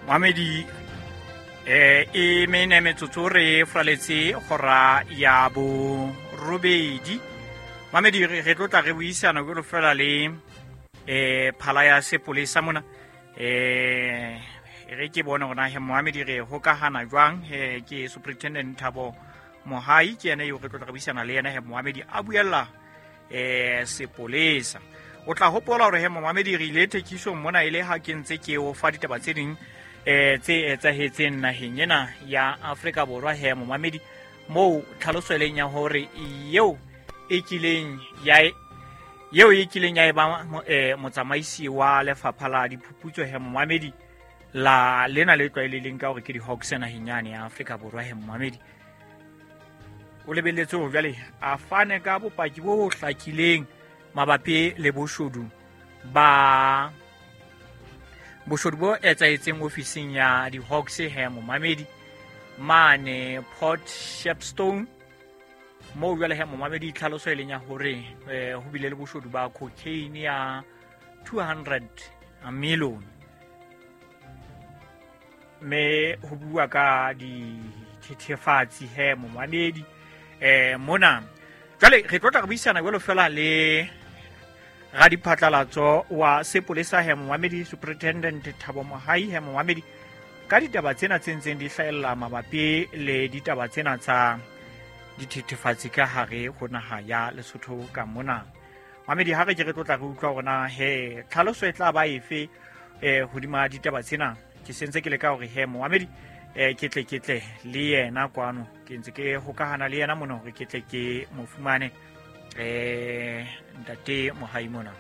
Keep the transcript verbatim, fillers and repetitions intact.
Mohamedi, eh e mene metsotso re fraletse hora ya borobedi. Mohamedi, re tlo tla re buisana jwalo fela le eh phala ya sepolesa mona. Eh re ke bone hore na he Mohamedi re hokahana jwang. He ke Superintendent Thabo Mohai, ke yena eo re tlo tla re buisana le yena he Mohamedi a buella eh sepolesa. O tla hopola hore he Mohamedi re ile thekisong mona e le ha ke ntse ke o fa ditaba tse ding eh tse etsahetseng naheng ena ya Afrika Borwa he Mohamedi, moo tlhaloso e leng ya hore eo e kileng ya eo e kileng ya eba eh motsamaisi wa lefapha la diphuputso he Mohamedi la lena le tlwaelehileng ka hore ke di-Hawks naheng yane ya Afrika Borwa he Mohamedi, o lebelletse hore jwale a fane ka bopaki bo hlakileng mabapi le boshodu ba boshodu bo etsahetseng ofising ya di-Hawks he Mohamedi mane Port Shepstone, moo jwale he Mohamedi tlhaloso e leng ya hore eh, ho bile le boshodu ba cocaine ya two hundred million, mme ho bua ka dithethefatsi he Mohamedi eh mona. Jwale re tlo tla re buisana jwalo fela le radiphatlalatso wa sepolesa he Mohamedi, Superintendent Thabo Mohai he Mohamedi, ka ditaba tsena tse ntseng di hlahella mabapi le ditaba tsena tsa dithethefatsi ka hare ho naha ya Lesotho ka mona. Mohamedi, ha re ke re tlo tla re utlwa hore na he tlhaloso e tla ba efe eh hodima ditaba tsena. Ke sentse ke leka hore he Mohamedi eh ke tle ke tle le yena kwano, ke ntse ke hokahana le yena mona hore ke tle ke mo fumane eh ntate Mohai mona.